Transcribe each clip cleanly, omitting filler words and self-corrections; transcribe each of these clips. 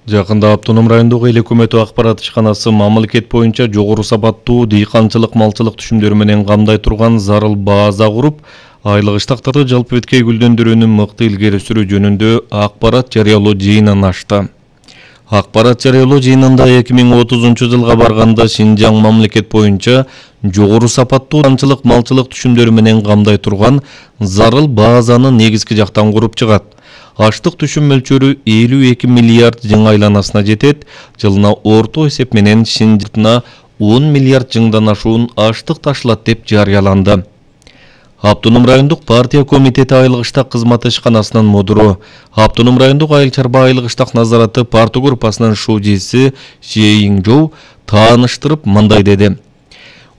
Жакында Автоном райондогу эл өкмөтү акпарат ишканасы мамлекет боюнча жогору сапаттуу дыйканчылык малчылык түшүмдөрү менен камдай турган зарыл база куруп, айлык иштактарды жалпы беткей гүлдөндүрүүнү мыкты илгери сүрүү жөнүндө акпарат жарыялоо жыйынын ачты. Акпарат жарыялоо жыйынында 2030-жылга барганда Шинжаң мамлекет боюнча жогору сапаттуу дыйканчылык малчылык түшүмдөрү менен камдай турган зарыл базаны негизги жактан куруп чыгат. Аштык түшүм мөлчөрү 52 миллиард жың айланасына жетет. Жылына орто эсеп менен Шинжаңына 10 миллиард жыңдан ашуун аштык ташылат деп жарыяланды. Автоном райондук партия комитети айлык иштак кызматы ишканасынын модуру, Автоном райондук айыл чарба айлык иштак назараты парты группасынын шужиси Шейиңжоу тааныштырып мындай деди.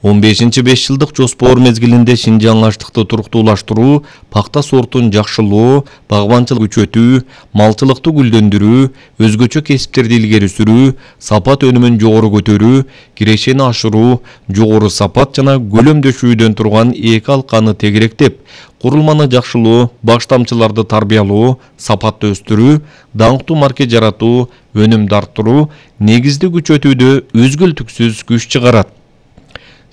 15-5 жылдык жоспор мезгилинде Шинжаң аштыкты туруктуулаштыруу, пакта сортун жакшылоо, багбанчылык күчөтүү, малчылыкты гүлдөндүрүү, өзгөчө кесиптерди илгери сүрүү, сапат өнүмүн жогору көтөрүү, кирешени ашыруу, жогору сапат жана көлөмдөшүүдөн турган эки алканы тегеректеп, курулманы жакшылоо, баштамчыларды тарбиялоо, сапатты өстүрүү, даңктуу марке жаратуу, өнүмдү арттыруу, негизди күчөтүүдө үзгүлтүксүз күч чыгарат.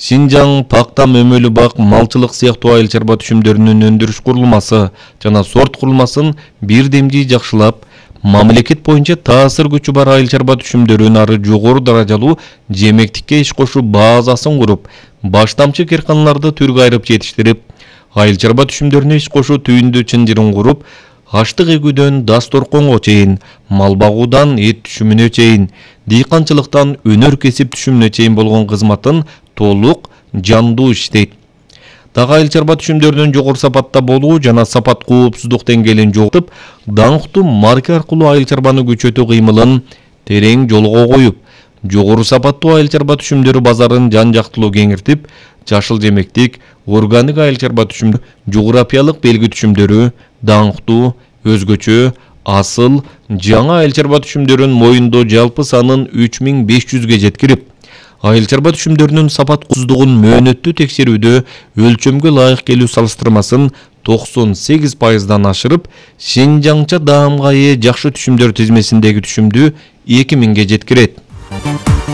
Шинжаң пакта мөмөлү бак, малчылык сыяктуу айыл чарба түшүмдөрүнүн өндүрүш курулмасы жана сорт курулмасын бир демдий жакшылап, мамлекет боюнча таасир күчү бар айыл чарба түшүмдөрүн ары жогору даражалуу жемектикке иш кошуу базасын куруп, баштамчы керканаларды түргө айырып жетиштирип, айыл чарба түшүмдөрүнө иш кошуу түйүндү чынжырын куруп, аштык эгүүдөн дасторконго чейин, мал багуудан эт түшүмүнө чейин, дыйканчылыктан өнөр кесип түшүмүнө чейин болгон кызматын толук жандуу иштейт. Дагы айыл чарба түшүмдөрүнүн жогору сапатта болуу жана сапат коопсуздук деңгээлин жоготуп, даңктуу марке аркылуу айыл чарбаны күчөтүү кыймылын терең жолго коюп, жогору сапаттуу айыл чарба түшүмдөрү базарын жан-жактылуу кеңиртип, жашыл жемектик, органик айыл чарба түшүмдөрү, жографиялык белги түшүмдөрү, даңктуу, өзгөчө, асыл, жаңа айыл чарба түшүмдөрүн моюндоо жалпы санын 3500ге жеткирип, айыл чарба түшүмдөрүнүн сапат коопсуздугун мөөнөттүү текшерүүдө өлчөмгө ылайык келүү салыштырмасын 98%дан ашырып, Шинжаңча даамга ээ жакшы түшүмдөр тизмесиндеги түшүмдү 2000ге жеткирет.